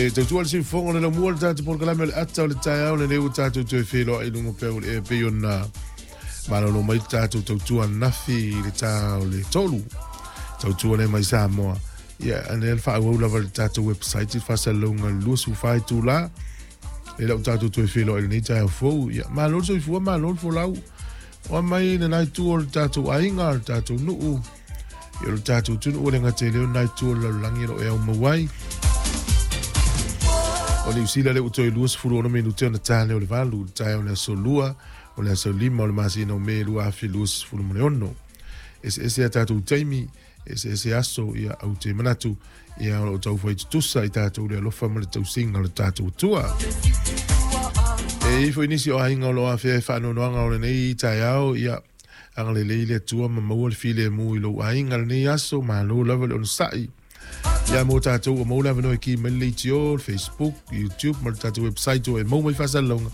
E tautua le siufofoga o le laumua le tatou polokalame o le ata o le taeao lenei ua tatou toe feiloai i luga pea o le ea pei ona malolo mai le tatou tautua ananafi i le ta o le 3. Tautua lea mai Samoa. Ia, lea le faaauau lava le tatou website i le faasalalauga i le 24 itula. E lau tatou toe feiloai i lenei taeao fou. Ia, malo le soifua, malo le folau. Oa mai lena itu o le tatou aiga, o le tatou nuu, ia o le tatou atunuu e le gata i lea o lena itu o le lalolagi o lo o e aumau ai. O Niu Sila lea ua toe 26 minute ona ta lea o le 8 i le taeao o le aso 2 o le aso 5 o le masina o Me 2026. Eseese a tatou taimi, eseese aso, ia ou te manatu, ia o lo o taufai tutusa i tatou le alofa ma le tausiga o le tatou Atua. E i ai foi nisi o aiga o lo o afea i faanoanoaga o lenei taeao, ia agalelei le Atua ma maua le filemu i lou aiga lenei aso, malo lava le onosai. Ia mo tatou ua maua le avanoa e ki mai le leitio, le Facebook, YouTube ma le tatou website ua e maua mai faasalalauga.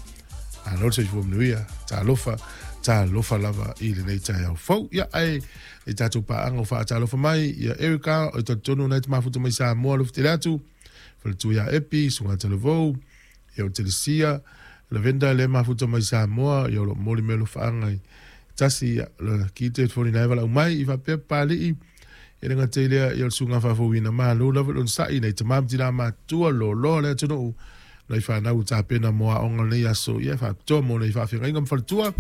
Malo le soifua manuia, talofa, talofa lava i lenei taeao fou. Ia ae i tatou paaga o faatalofa mai, ia Erica, o talitonu na e te mafuta mai Samoa, alofa tele atu, faletua ia Epi, Suga Talavou, ia o Telesia, Lavenda le mafuta mai Samoa, ia o lo moli me alofaaga i tasi, ia la ki te foni na e walau mai, i faapea Papalii, e le gata i lea, ia o le susuga faafouina, malo lava le onosai, nai tama ma tina matutua, loaloa le atunuu, nai fanau ua tapena mo aoga o lenei aso, ia faapitoa mo nei faafeagaiga ma faletua.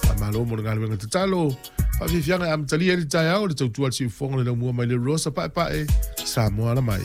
Faamalo mo le galuega tatalo. Faafiafiaga e amatalia ai le taeao, le tautua a le siufofoga le laumua mai le Rosa Paepae, Samoa ala mai.